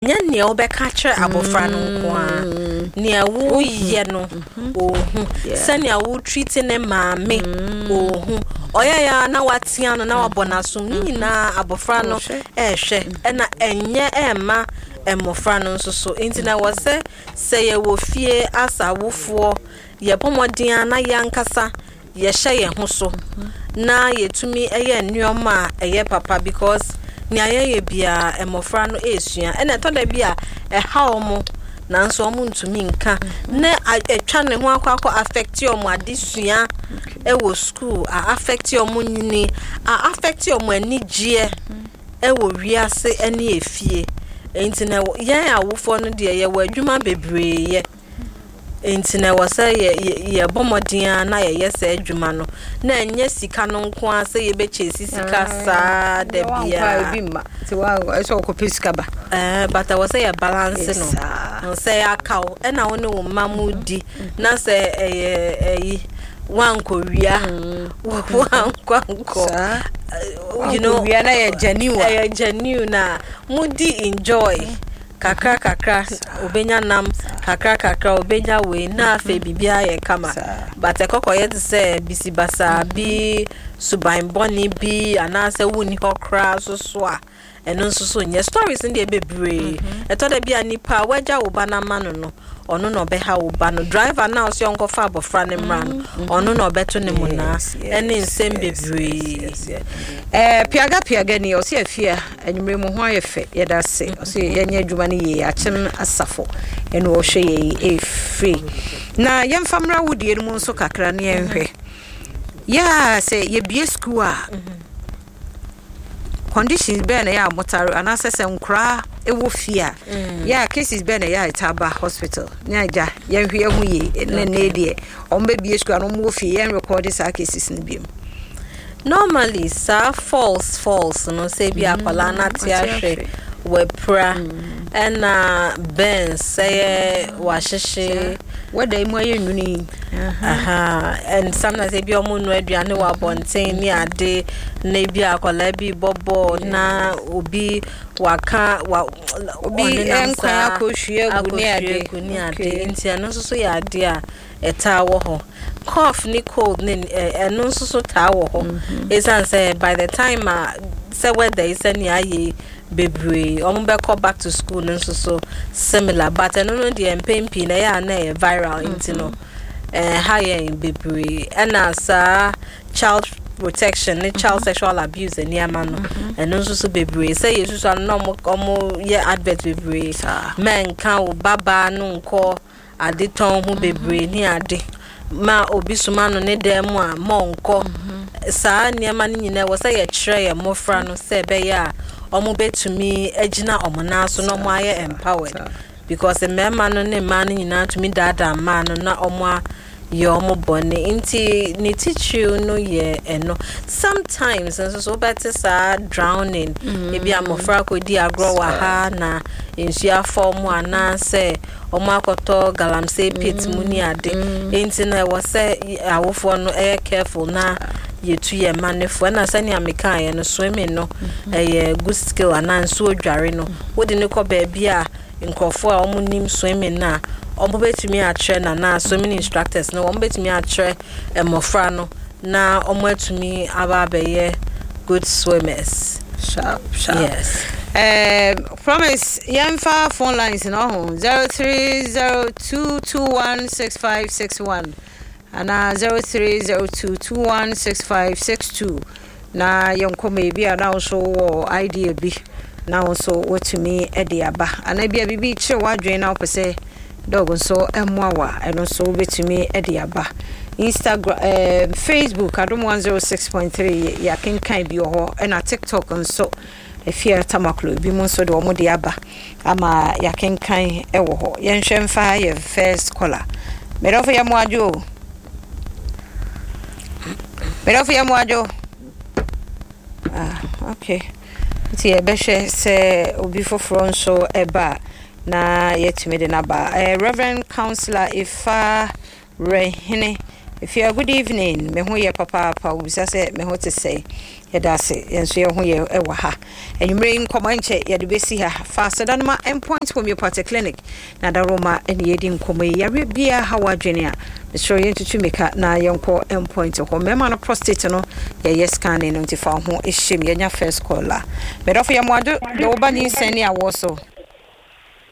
Nyɛ nea wobɛka akyerɛ abɔfra no nko ara, nea woyɛ no ɔhu, sɛnea wo treat ne maame ɔhu, ɔyɛyɛ a na watea no na wabɔ n'asom, ne nyinaa abɔfra no ɛrehwɛ, ɛna ɛnyɛ ɛmma mmɔfra no nso so. Nti na ɛwɔ sɛ sɛ yɛwɔ fie as awofoɔ, yɛbɔ mmɔden a na yɛn ankasa yɛhyɛ yɛn ho so na yɛtumi yɛ nneɛma a ɛyɛ papa, because nea yɛyɛ biara mmɔfra no resua. Ɛna ɛtɔ da bi a ɛha wɔn nanso wɔn ntumi nka na atwa ne ho akɔ affect wɔn adesua ɛwɔ school, a affect wɔn nyini, a affect wɔn anigyeɛ ɛwɔ wiase ɛne efie. Nti na yɛn awofoɔ no deɛ, yɛwɔ adwuma bebree yɛ. Nti na ɛwɔ sɛ yɛbɔ mmɔden a na yɛyɛ saa adwuma no, na ɛnyɛ sika no nko ara sɛ yɛbɛkyɛ si sika saa da biara. Bi mma nti ɛsɛ ɔkɔpɛ sika ba. But ɛwɔ sɛ yɛ balance no sɛ yɛaka wo ɛna wo ne wo mma mu di na sɛ ɛyɛ ɛyi wankɔwia, wankɔ ankɔ wia na yɛ genuine. Ɛyɛ genuine na mudi enjoy kakra kakra, obenya nam kakra kakra, obenya wei na afei biribiara yɛ kama. But ɛkɔkɔyɛ te sɛ bisibasa bi, suban bɔne bi, anaasɛ wonni hɔ koraa so so a, ɛno nso so nyɛ. Stories no deɛ bebree. Ɛtɔ da bi a nipa a wagya wo ba no ama no, ɔno na ɔbɛha wo ba no. Driver na ɔsɛ ɔnkɔfa abɔfra no mmra no, ɔno na ɔbɛto ne mu naa ɛne nsɛm bebree. Piaga piaga ni ɔsɛ afia anwummerɛ mu ho ayɛ fɛ, yɛda ase. Ɔsɛ yɛnyɛ adwuma no yie. Akyem Asafo ɛna ɔhwɛ yɛ ɛfiri. Na yɛmfa mmra wodie no mu nso kakra ne yɛnhwɛ yɛa sɛ yɛbie school a, conditions bɛɛ na yɛ a motare, anaasɛ sɛ nkoraa ɛwɔ fie a, yɛ a cases bɛɛ na yɛ a ɛta ba hospital ne agya yɛnhwɛ yɛn ho yie ne ne deɛ ɔmo bɛbie school a na ɔmo wɔ fie, yɛn record saa cases no biom? Normally saa falls no, sɛ bi akwadaa no ate ahwɛ, wapira, ɛna burns, sɛ yɛ wahyehye. Wɛda yi mu ayɛ nwunu yi. Aha, and sometimes ebi ɔmo nua aduane wɔ abɔnten ne ade, na ebi akwadaa bi bɔ bɔɔl na obi waka wa obi ɔnenam nkwan saa, akɔhwie agu ne ade. Akɔhwie agu ne ade. Nti ɛno nso so yɛ ade a ɛtaa wɔ hɔ. Cough ne cold ne ɛno nso so taa wɔ hɔ, ɛsiane sɛ by the time a sɛ weather yi sɛnea ayɛ yi bebree ɔmo bɛkɔ back to school no nso so similar, but ɛno no deɛ, mpɛn pii na ɛyɛ a na ɛyɛ viral, nti no ɛha yɛn bebree. Ɛna saa child protection ne child sexual abuse nneɛma no, ɛno nso so bebree sɛ yɛsusu ano na ɔmo yɛ advert bebree, mɛnka wo babaa no nkɔ adetɔn ho bebree ne ade, ma obi soma no ne dan mu a, ma ɔnkɔ. Saa nneɛma no nyinaa wɔ sɛ yɛkyerɛ yɛn mmɔfra no sɛ ɛbɛyɛ a ɔmo bɛtumi agyina ɔmo nan so na ɔmo ayɛ empowered, because mmarima no ne mmaa no nyinaa tumi daadaa mmaa no na ɔmo ayɛ ɔmo bɔne. Nti ne titiriw no yɛ ɛno. Sometimes nso so wobɛte saa drowning, ebi a mmɔfra akɔdi agorɔ wɔ ha na nsuo afɔ ɔmo, anaasɛ ɔmo akɔtɔ galamsey pit mu ne ade. Nti na ɛwɔ sɛ awofoɔ no ɛyɛ careful na yɛtu yɛn mma no fo. Ɛna sɛnea mekaeɛ no, swimming no ɛyɛ good skill, anaa nsuo dware no, wode ne kɔ baabi a nkurɔfoɔ a wɔn nim swimming no a, wɔn bɛtumi akyerɛ no, anaa swimming instructors no wɔn bɛtumi akyerɛ mmɔfra no na wɔn atumi aba abɛyɛ good swimmers. Sharp sharp. Yes. Promise, yɛmfa phone lines no ho, 0302216561 anaa 0302216562, na yɛnkɔ ma ebi a na wo nso wɔ idea bi na wo nso watumi de aba, anaa bi a biribi kyerɛ w'adwene na wopɛ sɛ doc nso mmoa wo a, ɛno nso wobɛtumi de aba. Instagram, Facebook, Adom 106.3, yɛakenkan bi wɔ hɔ, ɛna TikTok nso, Efia Tamaklo, bi mu nso de wɔn de aba ama yɛakenkan wɔ hɔ. Yɛnhwɛ mfa yɛ first caller. Mɛdɔfo, yɛ mo adwo o. Mɛdɔfo, yɛ mo adwo. Ah, okay, nti yɛbɛhwɛ sɛ obi foforɔ nso ɛba a na yɛtumi de n'aba. Reverend Counselor Ifa Rehene. Efia, good evening. Me ho yɛ papaapa. Wobisa sɛ me ho te sɛn. Yɛda ase. Yɛn nso yɛn ho yɛ wɔ ha. Anwummerɛ yi nkɔmmɔ nkyɛ yɛde bɛsi ha. Fa aseda no ma Endpoint Homeopathic Clinic na Daroma ne yɛdi nkɔmmɔ yi. Yareɛ biara ha w'adwene a, mesrɛ wo yɛntutu mmirika na yɛnkɔ Endpoint hɔ. Mmarima no prostate no yɛyɛ scanning no nti fa wo ho hyɛ mu. Yɛnya first call a. Medɔfo yɛ mmoadwo de wo ba nyinsɛn ne awoɔ so.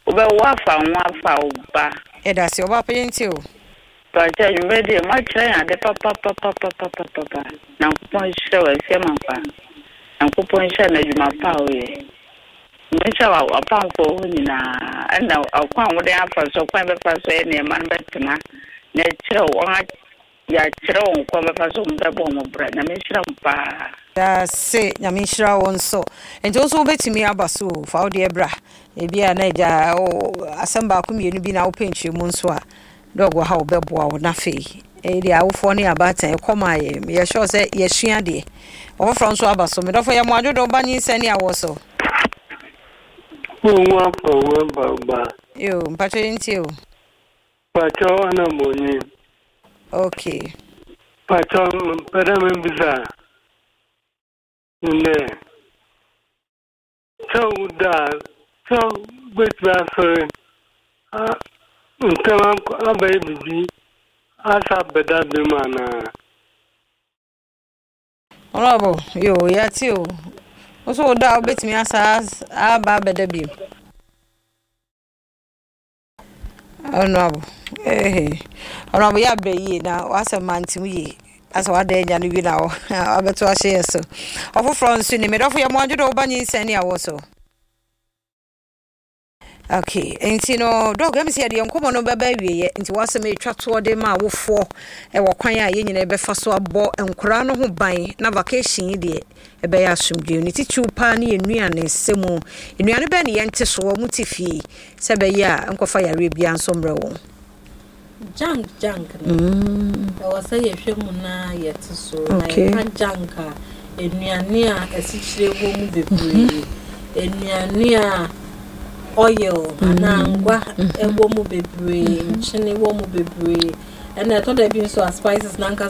Wobɛwo afa wo ho afa wo ba. Yɛda ase. Ɔbaa pa yɛntie o. Mpakyɛ anwummerɛ deɛ moakyerɛ yɛn ade papapapapapapa Nyankopɔn nhyira wo Afia Mankwa Nyankopɔn nhyira no adwuma pa a woyɛ Nhyira w'apamfoɔ hɔ nyinaa ɛna ɔkwan a wode afa so ɔkwan bɛfa so yɛ nneɛma no bɛtena na ɛkyerɛ wɔn yɛakyerɛ wɔn kwan bɛfa so wɔn bɛbɔ wɔn bra. Nyame nhyira mo paa. Dase, Nyame nhyira wo nso. Nti wo nso wobɛtumi aba so o, fa wo deɛ bra. Ebi a na agya asɛm baako mmienu bi na wopɛ nkyerɛmu nso a, dɔg wɔ ha wɔbɛboa wo. Na afei, ɛyi deɛ awofoɔ ne abaatan ɛkɔm a yɛ, meyɛ sure sɛ yɛsua adeɛ. Ɔfoforɔ nso aba so. Medɔfo yɛ mo adwodo ba nyinsɛn ne awoɔ so. Wo ho afa wo aba ba. Yo, mpakyɛ yɛntie o. Pakyɛ ana monyi. Okay. Pakyɛ mpɛ dɛ mebisa ndɛ sɛ woda a sɛ wobɛtumi asɔre ntɛm abɛyɛ biribi asa abɛda biom anaa? Honorable, yo, yɛate o. Wo so woda a wobɛtumi asa aba abɛda biom. Honorable, eh, Honorable, yɛ abrɛ yie na wasɛm mante mu yie. Asɛ wada anya no bi na wabɛto ahyɛ yɛ so. Ɔfoforɔ nso ni, medɔfo yɛ mmoadwo dɛ woba nyinsɛn ne awɔ so. Okay, nti no dɔg ɛmi sɛ yɛde yɛn nkɔmɔ no bɛba awieɛ, nti wasɛm ɛtwa toɔ de ma awofoɔ ɛwɔ kwan a yɛn nyinaa bɛfa so abɔ nkoraa no ho ban na vacation yi deɛ ɛbɛyɛ asomdwoe. Ne titiriw paa ne yɛn nnuane sɛ mu nnuane bɛn ne yɛnte so wɔn te fie sɛ ɛbɛyɛ a nkɔfa yareɛ biara nso mmerɛ wɔn. Junk no ɛwɔ sɛ yɛhwɛ mu na yɛte so. Na yɛka junk a, nnuane a asikyire wɔ mu bebree, nnuane a oil anaa ngwa ɛwɔ mu bebree, nkyene wɔ mu bebree, ɛna ɛtɔ da bi nso a spices nankasa.